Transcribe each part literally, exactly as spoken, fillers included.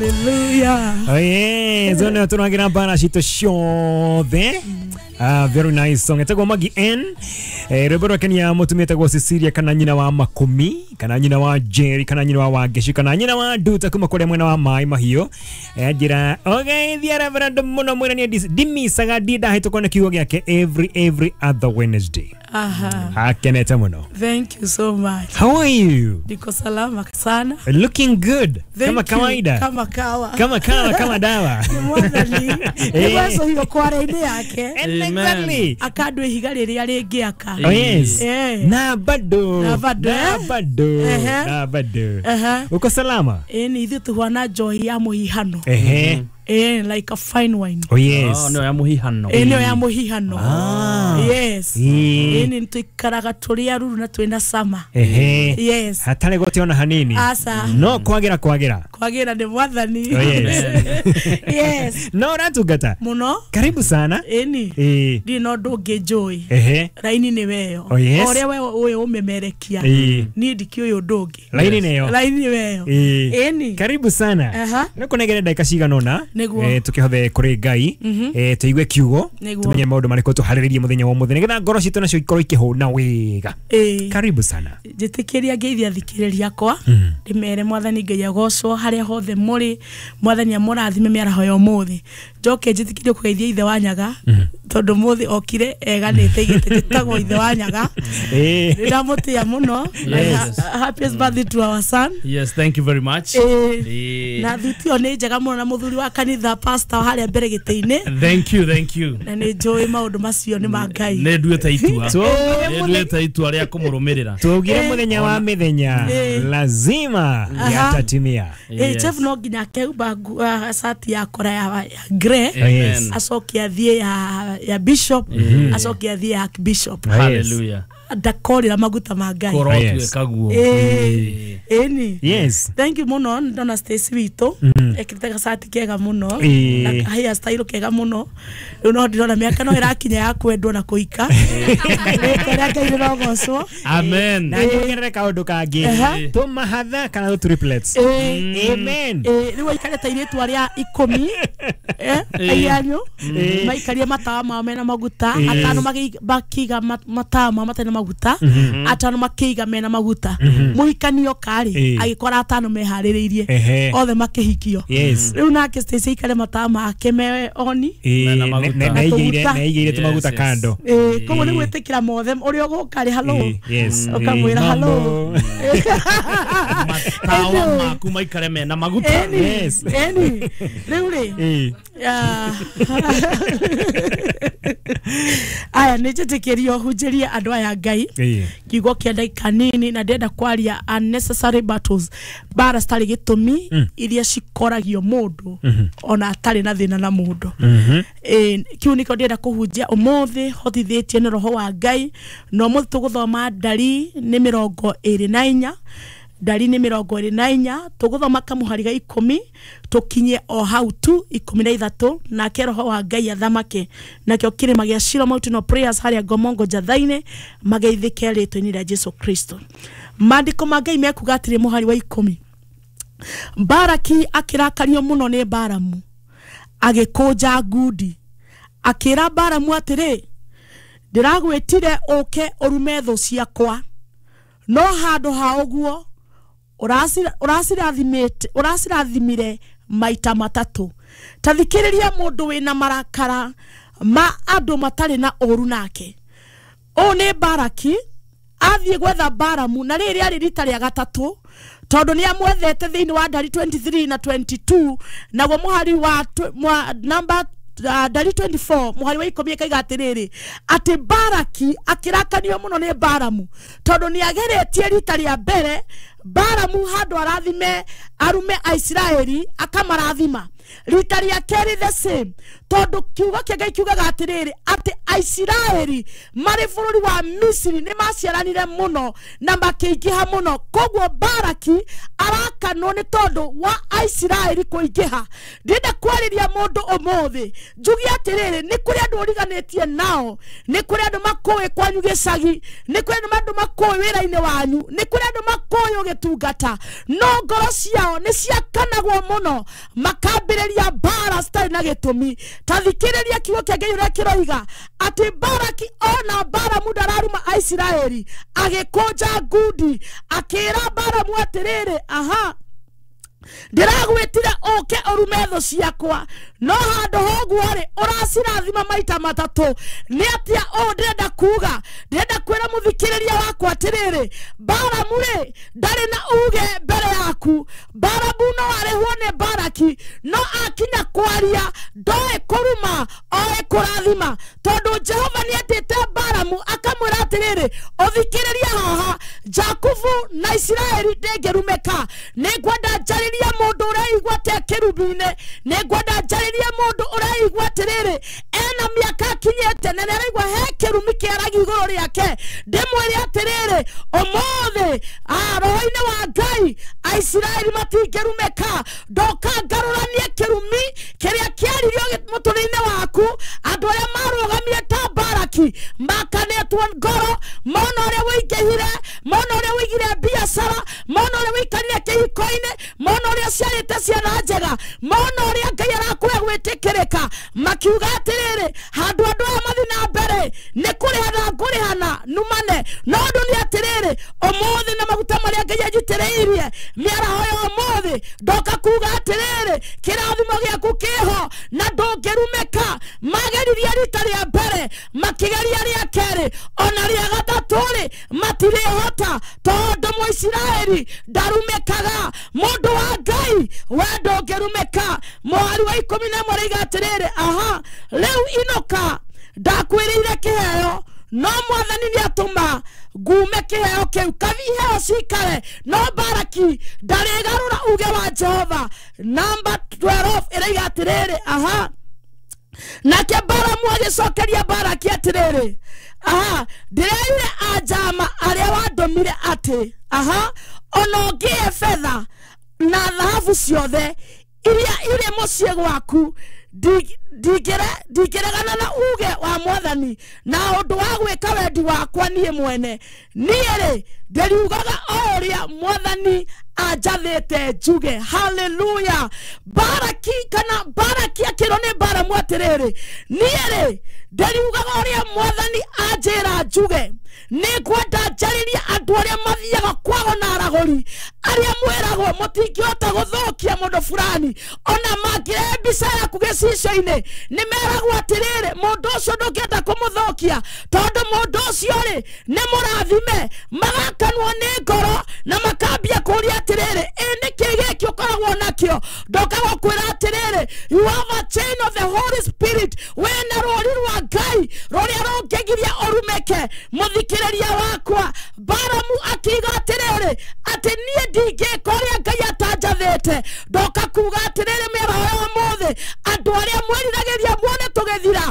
Hallelujah. Oh yes, ona tunagira bara citũ ciothe. Ah, very nice song. Etagwo Maggie N. Eh, rwĩmbo rwake nĩ ya mũtumia etagwo Cecilia kana nyina wa Makumi, kana nyina wa Jerry, kana nyina wa Wangeshi, kana nyina wa Nduta kuma kũrĩa mwena wa Maĩ Mahiũ. Eh, njĩra ũgeithia Reverend mũno mwĩra nĩ ndimicaga ndindahĩtũkwo nĩ kiugo gĩake every every other Wednesday. Aha. Akenete mũno. Thank you so much. How are you? Niko salama sana. Looking good. Thank kama you. Kawaida. Kama kawa. Kama kawa, kama dawa. Ni mwathani. Nĩ hiyo kwara-inĩ yake. Exactly. Akandũ ihiga rĩrĩa rĩngĩaka. Oh yes. Eh. Na bado. Na bado. Na bado. Eh. Na bado. Eh. Uko salama? Eh, ni ithuĩ tũhana njohi ya mũhihano. Eh. Eh, like a fine wine. Oh yes. Oh, no ya muhihano. Eh, no ya muhihano. Ah. Yes. Eh, ni tuikaraga tũrĩ aruru na twĩna sama. Eh. Yes. Hatarĩ gũtiona hanini. Asa. No kwagira kwagira. Kwagira nĩ mwathani. Oh yes. Yes. No ũratungata. Mũno. Karibu sana. Eni. Eh. Ndirĩ na ũndũ ũngĩ njũĩ. Eh. Raini nĩ weyo. Oh yes. Ũrĩa we ũyũ ũmemerekia. Eh. Niĩ ndikĩũĩ ũndũ ũngĩ. Raini nĩyo. Raini nĩ weyo. Eh. Eni. Karibu sana. Aha. Nĩ kũnengere ndagĩka cigana ũna. Nĩguo. Eh, tukihothe kuri Ngai, eh, tuigue kiugo, tumenye maundu marĩkũ tũharĩrĩrie mũthenya wa ũmũthĩ nĩgetha ngoro citũ nacio ikorwo ikĩhũna wega. Eh. Karibu sana. Njĩtĩkĩria ngeithia thikĩrĩria akwa, ndĩmere mwathani Ngai agocwo harĩa hothe mũrĩ, mwathani amũrathime mĩaraho ya ũmũthĩ. Njoke njĩtĩkĩrie kũgeithia ithe wa Nyaga, tondũ mũthĩ okire eganĩte igĩte njĩtagwo ithe wa Nyaga. Eh. Nĩndamũtĩa mũno. Yes. Happiest birthday to our son. Yes, thank you very much. Eh. Na thuti ĩyo nĩ njega mũno na mũthuri wa kanitha pastor harĩa mbere gĩtĩ-inĩ. Thank you, thank you. Na nĩ njũĩ maũndũ macio nĩ ma Ngai. Nĩ nduĩte itua. Nĩ nduĩte itua rĩa kũmũrũmĩrĩra. Tuugire mũthenya wa mĩthenya lazima yatatimia. Eh, Chef no nginya akehumba cati ya kora ya grey, acoke athiĩ ya ya bishop, acoke athiĩ ya archbishop. Hallelujah. Ndakorĩra maguta ma Ngai. Kũrotuĩka guo. Eh, ĩni. Yes. Thank you mũno ndona Stacy witũ ekĩrĩte gacati kega mũno na hair style kega mũno. Rĩu no ndĩrona mĩaka no ĩrakinya ya kwendwo na kũhika. Rĩtwa rĩa Ngai rĩrogocwo. Amen. Na nyongerere kaũndũ kangĩ. Tũmahatha kana tũ triplets. Amen. Rĩu aikarĩte airĩtu arĩa ikũmi eh aianyu maikarie matawa mao mena maguta, atano makiiga matawa mao matarĩ na maguta, atano makiiga mena maguta. Mũhikanio karĩ agĩkora atano meharĩrĩirie othe makĩhikio. Rĩu nake Stacy aikare matawa make me oni na igĩire na igĩire tũmaguta kando. Eh, koguo nĩ gwĩtĩkĩra mothe ũrĩa ũgũka rĩ hello. Ũkamwĩra hello. Matawa maku maikare mena maguta. Yes. Eni. Rĩu rĩ aya nĩ njĩtĩkĩrio hunjĩrie andũ aya Ngai kiugo kĩa ndagĩka nini na ndĩrenda kwaria unnecessary battles, mbara citarĩ gĩtũmi iria cikoragio mũndũ ona atarĩ na thĩna na mũndũ. Eh, kiu nĩkĩo ndĩrenda kũhunjia ũmũthĩ hotithĩtie nĩ roho wa Ngai. Na ũmũthĩ tũgũthoma ndari nĩ mĩrongo ĩrĩ na inya, ndari nĩ mĩrongo ĩrĩ na inya, tũgũthoma kamũhari ga ikũmi tũkinye o hau tu ikũmi na ithatũ, nake roho wa Ngai athamake. Nakĩo kĩrĩma gĩa Shiloh Mountain of Prayers harĩa Ngomongo Njatha-inĩ mageithĩke rĩtwa-inĩ rĩa Jesu Kristo. Maandĩko ma Ngai mekuga atĩrĩ mũhari wa ikũmi, Baraki akĩrakario mũno nĩ Baramu agĩkũnja ngundi akĩra Baramu atĩrĩ, ndĩragwĩtire ũke ũrume thũ ciakwa, no handũ ha ũguo ũracirathimĩte ũracirathimire maita matatũ. Ta thikĩrĩria mũndũ wĩna marakara ma andũ matarĩ na ũru nake. Ũũ nĩ Baraki athiĩ gwetha Baramu, na rĩrĩ rĩarĩ rita rĩa gatatũ tondũ nĩ amwethete thĩinĩ wa ndari twenty-three na twenty-two, naguo mũhari wa number ndari twenty-four mũhari wa ikũmi ĩkaiga atĩrĩrĩ, atĩ Baraki akĩrakanio mũno nĩ Baramu tondũ nĩ ageretie rita rĩa mbere Baramu handũ arathime arume Aisiraeli akamarathima, Rita rĩa kerĩ the same, tondũ kiugo kĩa Ngai kiugaga atĩrĩrĩ atĩ Aisiraeli marĩ bũrũri wa Misiri nĩ maciaranire mũno na makĩingĩha mũno. Koguo Baraki arakanwo nĩ tondũ wa Aisiraeli kũingĩha. Ndĩrenda kwarĩria mũndũ ũmũthĩ njuge atĩrĩrĩ, nĩ kũrĩ andũ ũriganĩtie nao, nĩ kũrĩ andũ makũĩ kwanyu gĩcagi, nĩ kũrĩ andũ makũĩ wĩra-inĩ wanyu, nĩ kũrĩ andũ makũĩ ũgĩtungata, no ngoro ciao nĩ ciakanagwo mũno makambĩrĩria mbara citarĩ na gĩtũmi. Ta thikĩrĩria kiugo kĩa Ngai ũrĩa kĩroiga atĩ Baraki ona Balamu ndararuma Aisiraeli, agĩkũnja ngundi akĩra Balamu atĩrĩrĩ, aha, ndĩragwĩtire ũke ũrume thũ ciakwa, no handũ ha ũguo rĩ ũracirathima maita matatũ. Nĩ atĩa ũũ ndĩrenda kuga? Ndĩrenda kwĩra mũthikĩrĩria wakwa atĩrĩrĩ, Balamu rĩ ndarĩ na uge mbere yaku. Balamu no arĩhwo nĩ Baraki, no akinya kwaria ndoĩ kũruma, oĩ kũrathima, tondũ Jehova nĩetĩte Balamu akamwĩra atĩrĩrĩ, ũthikĩrĩria haha, Jakubu na Isiraeli ndĩngĩrumĩka. Nĩngwenda njarĩrie mũndũ ũreigua ta kĩrumi-inĩ, nĩngwenda njarĩrie mũndũ ũreigua atĩrĩrĩ ena mĩaka akinyĩte na nĩaraigua he kĩrumi kĩaragia igũrũ rĩake. Ndĩmwĩre atĩrĩrĩ, ũmũthĩ roho-inĩ wa Ngai Aisiraeli matingĩrumĩka. Ndoka ngarũranie kĩrumi kĩrĩa kĩaririo mũtũrĩre-inĩ waku. Andũ arĩa marũgamire ta Baraki makanĩtwo ngoro, mona ũrĩa wĩingĩhire, mona ũrĩa wĩigire biacara, mona ũrĩa wĩikarire kĩhiko-inĩ, mona ũrĩa ũciarĩte ciana njega, mona ũrĩa Ngai arakũhe gwĩtĩkĩrĩka, makiuga atĩrĩrĩ, handũ andũ aya mathiĩ na mbere nĩ kũrĩhana ngũrĩhana numane. No ũndũ nĩ atĩrĩrĩ, ũmũthĩ na maguta marĩa Ngai anjitĩrĩirie mĩaraho ya ũmũthĩ, ndoka kuga atĩrĩrĩ, kĩrathimo gĩaku kĩho na ndũngĩrumĩka. Mageririe rita rĩa mbere, makĩgeria rĩa kerĩ, ona rĩa gatatũ rĩ matirĩhota, tondũ Mũisiraeli ndarumĩkaga. Mũndũ wa Ngai we ndũngĩrumĩka. Mũhari wa ikũmi na ĩmwe rĩiga atĩrĩrĩ, aha, rĩu inũka, ndakwĩrĩire kĩheo, no mwathani nĩatũma ngume kĩheo kĩu, kabi iheo cikare. No Baraki ndarĩgarũra uge wa Jehova. Namba twelve ĩraiga atĩrĩrĩ, aha, nake Balamu agĩcokeria Baraki atĩrĩrĩ, aha, ndĩreire anjama arĩa wandũmire atĩ, aha, ona ũngĩhe betha na thahabu ciothe iria irĩ mũciĩ gwaku, ndingĩregana na uge wa mwathani na ũndũ wa gwĩka wendi wakwa niĩ mwene. Niĩ rĩ ndĩriugaga o ũrĩa mwathani anjathĩte njuge. Haleluya. Baraki kana Baraki akĩrwo nĩ Balamu atĩrĩrĩ, niĩ rĩ ndĩriugaga ũrĩa mwathani anjĩra njuge. Nĩngwenda njarĩrie andũ arĩa mathiaga kwago na aragũri, arĩa mwĩragwo mũtingĩhota gũthũkia mũndũ fulani, ona mangĩrehe mbica yaku gĩcicio-inĩ nĩmeragwo atĩrĩrĩ, mũndũ ũcio ndũngĩenda kũmũthũkia tondũ mũndũ ũcio rĩ nĩ mũrathime. Magakanwo nĩ ngoro na makambia kũũria atĩrĩrĩ, ĩ nĩkĩ gĩkĩ ũkoragwo nakĩo? Ndoka gũkwĩra atĩrĩrĩ, you have a chain of the Holy Spirit, wĩna rũũri rwa Ngai rũrĩa rũngĩgiria ũrumĩke. Mũthikĩrĩria wakwa, Balamu akiuga atĩrĩrĩ, atĩ niĩ ndingĩka ũrĩa Ngai atanjathĩte. Ndoka kuga atĩrĩrĩ mĩaraho ya ũmũthĩ, andũ arĩa mwĩriragĩria muone tũgĩthira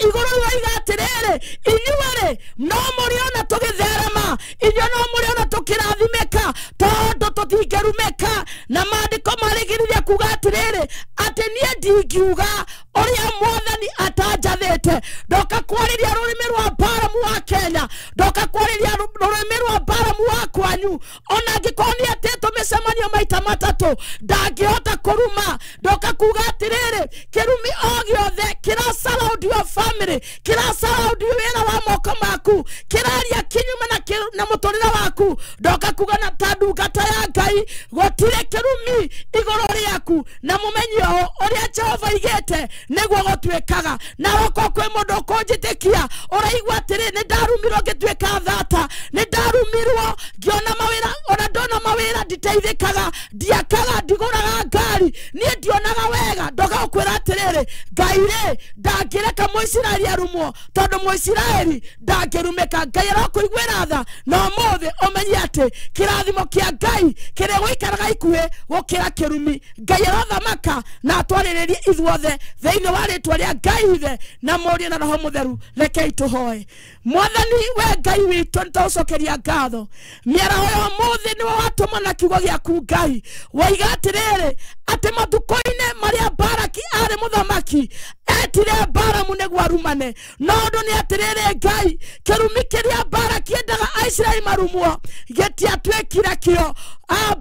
igũrũ rĩoiga atĩrĩrĩ, inyuĩ rĩ no mũrĩona tũgĩtherema, inyuĩ no mũrĩona tũkĩrathimĩka, tondũ tũtingĩrumĩka. Na maandĩko marĩgĩrĩria kuga atĩrĩrĩ, atĩ niĩ ndingiuga ũrĩa mwathani atanjathĩte. Ndoka kwarĩria rũrĩmĩ rwa Balamu wa Kenya, ndoka kwarĩria rũrĩmĩ rwa Balamu wa kwanyu, ona angĩkorwo nĩetĩtwo mĩcemanio maita matatũ ndangĩhota kũruma. Ndoka kuga atĩrĩrĩ, kĩrumi o gĩothe kĩra surround your family, kĩra surround wĩra wa moko maku, kĩraria kĩnyume na na mũtũrĩre waku, ndoka kuga na ta ndungata ya Ngai gũtirĩ kĩrumi igũrũ rĩaku, na mũmenye ũũ ũrĩa Jehova aigĩte nĩguo gũtuĩkaga. Na okorwo kwĩ mũndũ ũkũnjĩtĩkia ũraigua atĩrĩ, nĩ ndarumirwo ngĩtuĩka thata, nĩ ndarumirwo ngĩona mawĩra, ona ndona mawĩra nditeithĩkaga, ndiakaga, ndigũraga ngari, niĩ ndionaga wega. Ndoka gũkwĩra atĩrĩrĩ, atĩrĩrĩ Ngai rĩ ndangĩreka Mũisiraeli arumwo tondũ Mũisiraeli ndangĩrumĩka. Ngai arokũiguĩra tha na ũmũthĩ ũmenye atĩ kĩrathimo kĩa Ngai kĩrĩa gũikaraga ikuhĩ gũkĩra kĩrumi. Ngai arothamaka na atwarĩrĩrie ithuothe thĩinĩ wa rĩtwa rĩa Ngai ithe na Mũriũ na Roho Mũtheru. Rekei tũhoe. Mwathani we Ngai witũ nĩtũgũcokeria ngatho mĩaraho ya ũmũthĩ nĩwe watũma na kiugo gĩaku Ngai waiga atĩrĩrĩ atĩ matukũ-inĩ marĩa Baraki arĩ mũthamaki etire Balamu nĩguo arumane no ũndũ nĩ atĩrĩrĩ Ngai kĩrumi kĩrĩa Baraki endaga Aisiraeli marumwo gĩtiatuĩkire kĩo.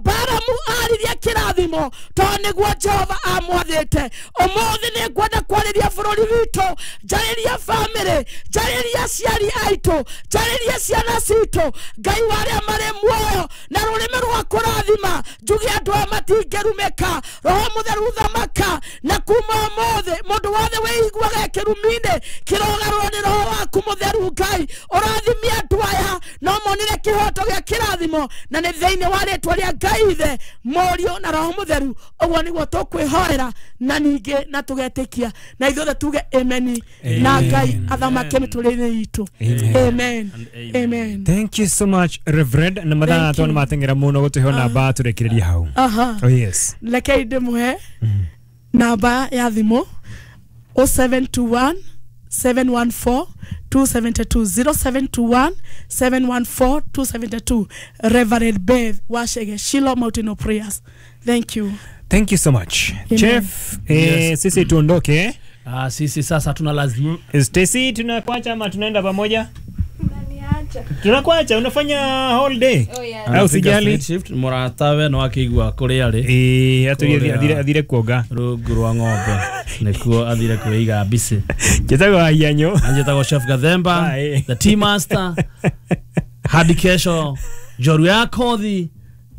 Balamu aririe kĩrathimo tondũ nĩguo Jehova amwathĩte. Ũmũthĩ nĩngwenda kwarĩria bũrũri witũ, njarĩrie bamĩrĩ, njarĩrie aciari aitũ, njarĩrie ciana citũ Ngai wa arĩa marĩ muoyo na rũrĩmĩ rwa kũrathima njuge andũ aya matingĩrumĩka. Roho Mũtheru thamaka na kuma ũmũthĩ mũndũ wothe wĩiguaga kĩrumi-inĩ kĩrogarũrwo nĩ Roho waku Mũtheru. Ngai ũrathimie andũ aya no monire kĩhoto gĩa kĩrathimo na nĩ thĩinĩ wa rĩtwa rĩa Ngai ithe Mũriũ na Roho Mũtheru. Ũguo nĩguo tũkwĩhoera na ningĩ na tũgetĩkia na ithuothe tuge amen na Ngai athamake mĩtũrĩre itũ. Amen. Amen. Thank you so much Reverend na mathaa tondũ mateng'era mũno gũtũhe namba tũrĩkĩrĩrie hau. Aha. Oh yes. Rekei ndĩmũhe namba ya thimũ oh seven two one seven one four two seven two zero seven two one seven one four two seven two. Reverend Beth Washege, Shiloh Mountain of Prayers. Thank you. Thank you so much. Amen. Chef, eh, Yes. sisi tuondoke. Ah, sisi sasa tuna lazima. Stacy tunakuacha ama tunaenda pamoja? Unaniacha. Tunakuacha, unafanya whole day. Oh, yeah. Au sijali. Shift muratawe no akigua kuria ri. Eh, aturie athire athire kuoga. Rungu rwa ng'ombe nikuo athire kwĩiga mbici. Njĩtagwo Ahianyo. Njĩtagwo Chef Gathemba, Bye. the tea master. Hadi kesho njoru ya kothi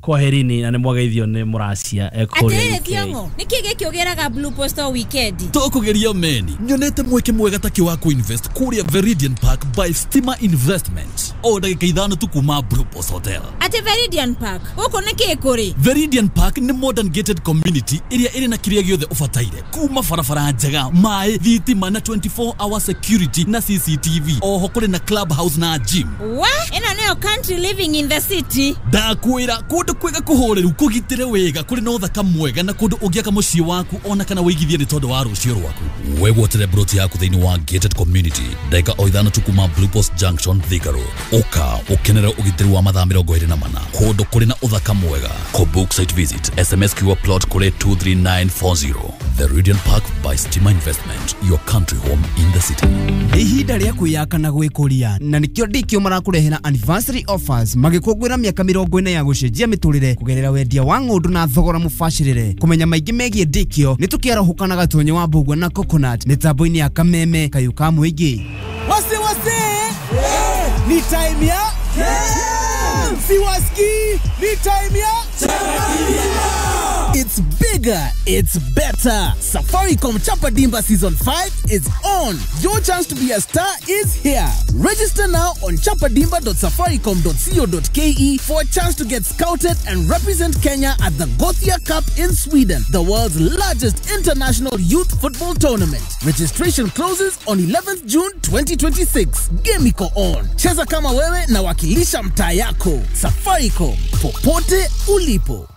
kwaherini na nĩ mwageithio nĩ mũracia ekũrĩa Atĩrĩrĩ Thiong'o, nĩkĩ gĩkĩ ũgĩraga Blue Post o weekend? Tũkũgeria meni nyonete mweke mwega ta wa kuinvest kũrĩa Veridian Park by Stima Investment o ndagĩka ithano tu kuma Blue Post Hotel. Atĩ Veridian Park gũkũ nĩkĩ kũrĩ? Veridian Park nĩ modern gated community ĩrĩa ĩrĩ na kĩrĩa gĩothe ũbataire kuma barabara njega, maĩ, thitima na twenty-four hour security na C C T V. Oho kũrĩ na club house na gym. Wa ĩno nĩyo country living in the city. Ndakwĩra kũndũ kwega kũhoreru kũgitĩre wega kũrĩ na ũthaka mwega na kũndũ ũngĩaka mũciĩ waku ona kana wĩigithie nĩ tondũ wa rũciũ rwaku. Wegwatĩre broti yaku thĩinĩ wa gated community ndagĩka o ithano tu kuma Blue Post Junction Thika Road. Ũka ũkenere ũgitĩri wa mathaa mĩrongo ĩrĩ na mana kũndũ kũrĩ na ũthaka mwega. Kũbook site visit S M S Q plot kũrĩ two three nine four zero. Veridian Park by Stima Investment, your country home in the city. Ihinda rĩa kwĩyaka na gwĩkũria na nĩkĩo ndikĩo marakũrehera anniversary offers magĩkũngũĩra mĩaka mĩrongo ĩna ya gũcenjia mĩtũrĩre kũgerera wendia wa ng'ũndũ na thogora mũbacĩrĩre. Kũmenya maingĩ megiĩ ndikĩo nĩ tũkĩarahũka na Gatonye wa Mbũgua na Coconut mĩtambo-inĩ ya Kameme kayũ ka mũingĩ. Wase wase yeah. Ni time ya yeah. Siwaski ni time ya It's bigger, it's better. Safaricom Chapa Dimba Season five is on. Your chance to be a star is here. Register now on chapadimba dot safaricom dot co dot k e for a chance to get scouted and represent Kenya at the Gothia Cup in Sweden, the world's largest international youth football tournament. Registration closes on eleventh June twenty twenty-six. Game iko on. Cheza kama wewe na wakilisha mtaa yako. Safaricom, popote ulipo.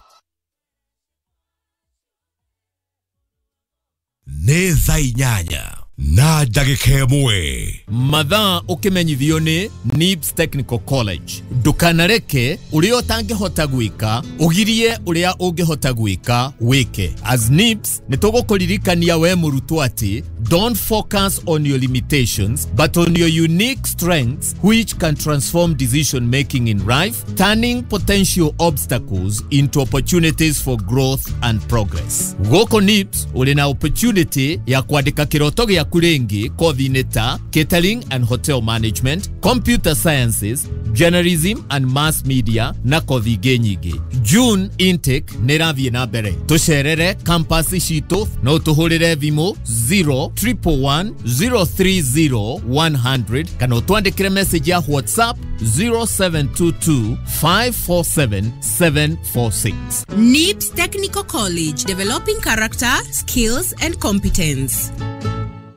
Nĩ thaa inyanya na ndagĩka ĩmwe. Mathaa ũkĩmenyithio nĩ Nibs Technical College. Ndũkanareke ũrĩa ũtangĩhota gwĩka ũgirie ũrĩa ũngĩhota gwĩka wĩke. As Nibs nĩ tũgũkũririkania we mũrutwo atĩ don't focus on your limitations but on your unique strengths which can transform decision making in life, turning potential obstacles into opportunities for growth and progress. Gũkũ Nibs ũrĩ na opportunity ya kwandĩka kĩroto gĩaku rĩngĩ kothi-inĩ ta catering and hotel management, computer sciences, journalism and mass media na kothi ingĩ nyingĩ. June intake nĩ ĩrathiĩ na mbere. Tũcerere campus citũ no tũhũrĩre thimũ zero triple one zero three zero one hundred kana ũtwandĩkĩre message ya WhatsApp zero seven two two five four seven seven four six. N I B S Technical College, developing character, skills and competence.